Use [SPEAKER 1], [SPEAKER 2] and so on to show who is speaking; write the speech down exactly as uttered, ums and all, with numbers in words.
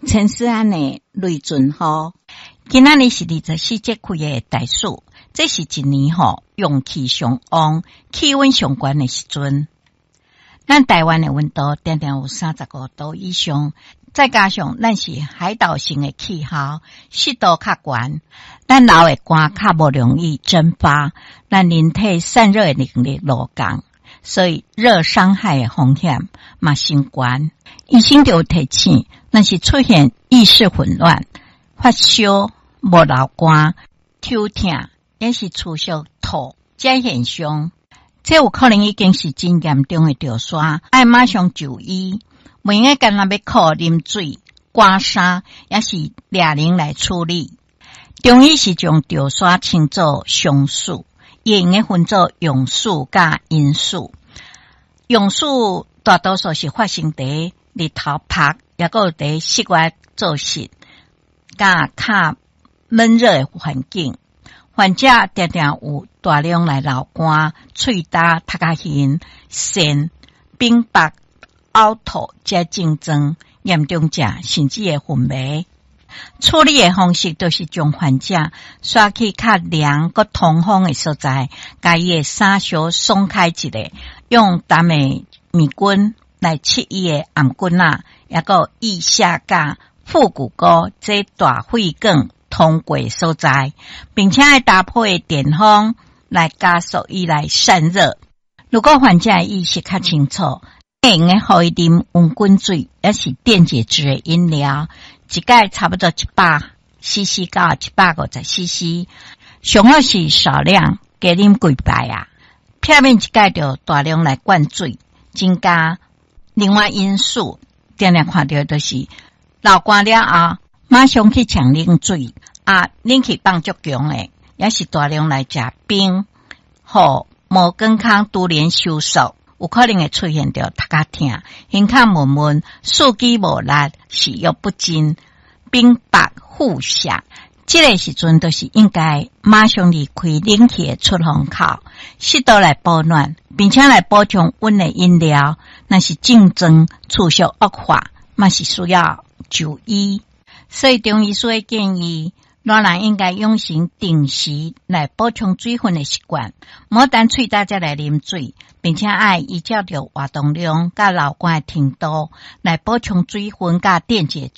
[SPEAKER 1] 陳思安的雷陣雨。今仔日是二十四節氣的大暑，這是一年吼陽氣上旺、氣溫上懸的時陣。咱台灣的溫度定定有三十五度以上，再加上咱是海島型的氣候，濕度較懸，咱流的汗較無容易蒸發，咱人體散熱的能力落降，所以熱傷害的風險嘛升懸。醫生就有提醒，若是出現意識混亂、發燒、無流汗、頭痛，抑是持續吐這現象，這有可能已經是真嚴重的著沙，愛馬上就醫。毋用該干焦欲靠啉水、掛衫，抑是掠冷來處理。中醫是將著沙稱做傷暑，會用得分做陽暑佮陰暑。陽暑大多數是發生佇日頭曝，抑閣有佇室外做事，佮較悶熱的環境，患者定定有大量來流汗、喙焦、頭殼眩、眩、冰白、嘔吐這症狀，嚴重者甚至會昏迷。處理的方式就是將患者徙去較涼閣通風的所在，共伊的衫相鬆開一下，用淡的麵巾來拭伊的頷頸仔，抑閣腋下佮腹股溝這大血管通過所在，並且愛搭配電風來加速伊來散熱。如果患者意識較清楚，會用得予伊啉溫滾水，抑是電解質的飲料，一擺差不多一百 C C 到一百五十 C C，上好是少量加啉幾擺啊，避免一擺就大量來灌水，增加另外因素，定定看著就是流汗了後，馬上去搶冷水啊，冷氣放足強的，抑是大量來食冰，予毛管孔突然收縮，有可能會出現著頭殼疼、胸口悶悶、四肢無力、食欲不振、冰白腹瀉。這個時陣就是應該馬上離開冷氣的出風口，適度來保暖，並且來補充溫的飲料。若是症狀持續惡化，嘛是需要就醫。所以中醫師會建議，老人應該養成定時來補充水分的習慣，莫等喙焦才來啉水，並且愛依照著活動量佮流汗的程度來補充水分佮電解質。